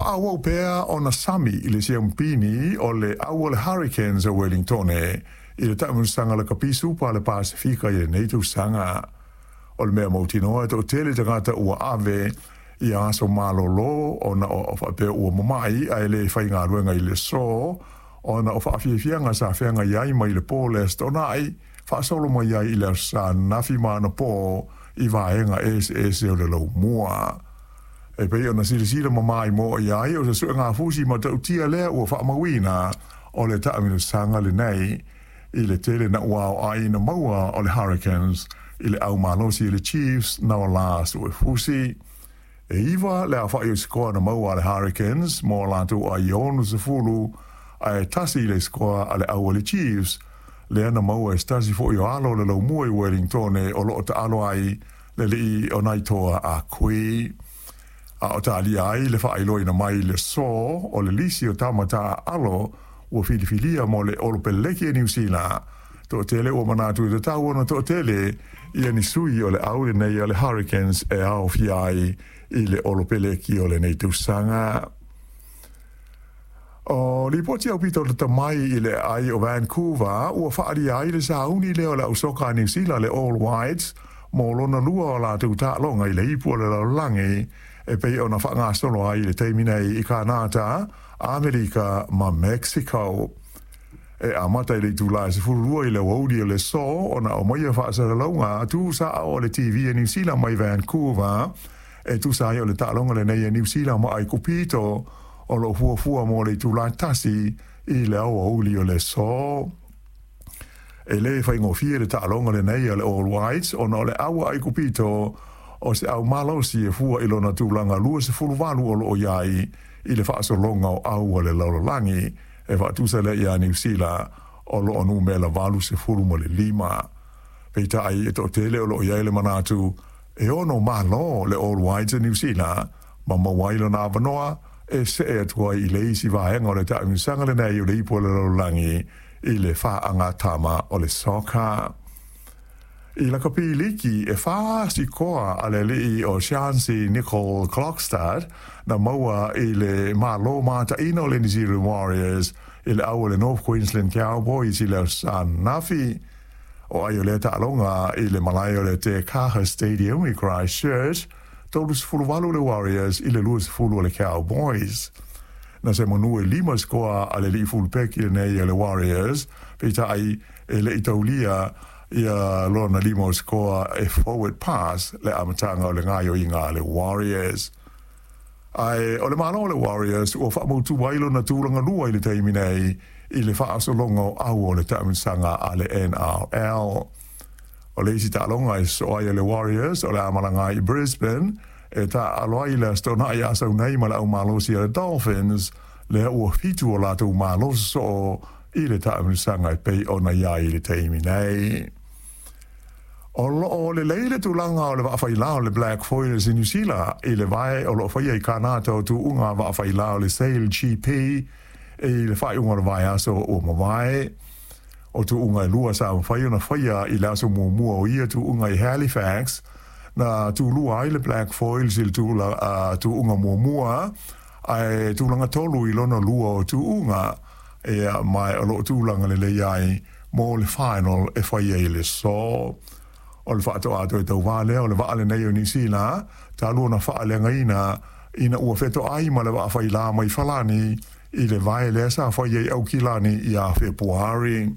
Faaauau pea ona sami i le siamupini o le au o le Hurricanes o Wellingtone i le taamilosaga Lakapi Supa a le Pasefika i lenei tausaga. O le mea mautinoa e toatele tagata ua ave i aso malolo ona o faapea ua mama'i ae le faigaluega i le aso ona o faafiafiaga sa feagai ai mai le po o le Aso Toonai faasolo mai ai i le Aso Sa ananafi ma anapo i vaega eseese o le laumua. E pei ona silasila mamaimoa i ai o se suegafusi matautia lea ua faamauina o le taamilosaga lenei i le tele naʻauao ai na maua o le Hurricanes i le au malosi o le Chiefs na o la suefusi. E 9 le aofa'i o sikoa na maua a le Hurricanes mo latou ai 60 ae 1 le sikoa a le au a le Chiefs lea na maua e se tasi foi o alo o le laumua i Wellingtone o loo taalo ai le alii o Naitoa Ah Kui. A o talia ai le faailoaina mai le aso o le lisi o tama taaalo ua filifilia mo le Olopeleki a Niu Sila, toatele ua manatu e tatau ona toatele ia ni sui o le au lenei a le Hurricanes e aofia ai i le Olopeleki o lenei tausaga. O lipoti aupito lata mai i le aai o Vancouver ua faaalia ai le sauni lea o le au soka a Niu Sila le All Whites mo lona lua o latou taaloga i le ipu o le lalolagi e pei ona faagasolo ai i le taimi nei i Kanata, Amerika ma Mexico. E amata i le itula e 12 i le aoauli o le aso ona aumaia faasalalauga tuusao a le TV a Niu Sila mai Vancouver e tusa ai o le taaloga lenei a Niu Sila ma Aikupito o loo fuafua mo le itula 1 i le aoauli o le aso. E lē faigofie le taaloga lenei a le All Whites ona o le au a Aikupito o se au malosi e fua i lona tulaga 28 o loo i ai i le faasologa o au a le lalolagi e faatusa lea iā Niu Sila o loo numera 85. Peitai e toatele o loo i ai le manatu e ono malo le All Whites a Niu Sila ma maua ai lona avanoa e see atu ai i le isi vaega o le taamilosaga lenei o le ipu o le lalolagi i le faagatama o le soka. I lakapi liki e 4 sikoa a le alii o Shansi Nicole Klokstad na maua i le malo mataina o le New Zealand Warriors i le au o le North Queensland Cowboys i le Aso Sa ananafi. O ai o lea taaloga i le malae o le Te Kaha Stadium i Christchurch, 38 le Warriors i le 20 o le Cowboys. Na se manu e 5 sikoa a le alii fulupeki lenei a le Warriors, peitai e le i taulia ia lona 5 o sikoa e forward pass le amataga o le gaoioiga a le Warriors. Ae o le malo o le Warriors ua faamautu ai lona tulaga lua i le taimi nei i le faasologa o au o le taamilosaga a le NRL. O le isi taaloga e sosoo ai a le Warriors o le a malaga ai i Brisbane e taaalo ai le Aso Toonai a sau nei ma le aumalosi a le Dolphins lea ua 7 o latou malo sosoo i le taamilosaga e pei ona i ai i le taimi nei. O loo lelei le tulaga o le vaafailā o le Black Foilers i Niu Sila i le vae o loo faia i Kanata o tuuga vaafailā o le Sail GP i le faaiuga o le vaiaso ua mavae. O tuuga e 2 sa mafai ona faia i le aso muamua o ia tuuga i Halifax na tulua ai le Black Foils i le tuuga muamua ae tulaga 3 i lona lua o tuuga ia mae o loo tulaga lelei ai mo le final e faia i le aso. O le faatoa toe tauvā lea o le vaa lenei o Niu Sila talu ona faaleagaina ina ua fetoai ma le vaafailā mai Falani i le vae lea sa faia i Aukilani ia Fepuari.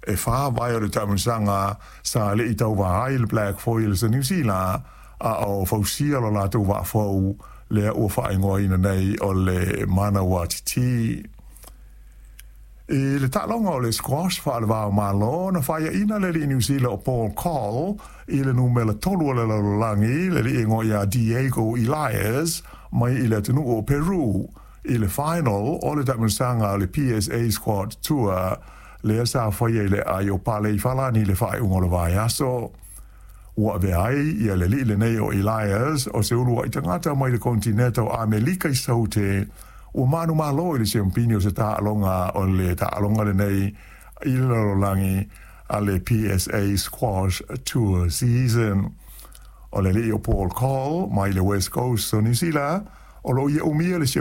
E 4 vae o le taamilosaga sa lei tauvā ai le Black Foils a Niu Sila a o fausia lo latou vaafou lea ua faaigoaina nei o le Manawa TT. I le taaloga o le squash faalevao malo na faiaina le alii Niu Sila o Paul Coll i le numera 3 o le lalolagi le alii igoa ia Diego Elias mai i le atunuu o Peru i le final o le taamilosaga o le PSA Squad Tour lea sa faia i le aai o Pale i Falani i le faaiuga o le vaiaso. Ua avea ai ia le alii lenei o Elias o se uluai tagata mai le kontineta o Amelika i Saute ua manumalo i le siampini o se taaloga o le taaloga lenei i le lalolagi a le PSA Squash Tour Season. O le alii o Paul Coll mai le West Coast o Niu Sila o loo ia umia le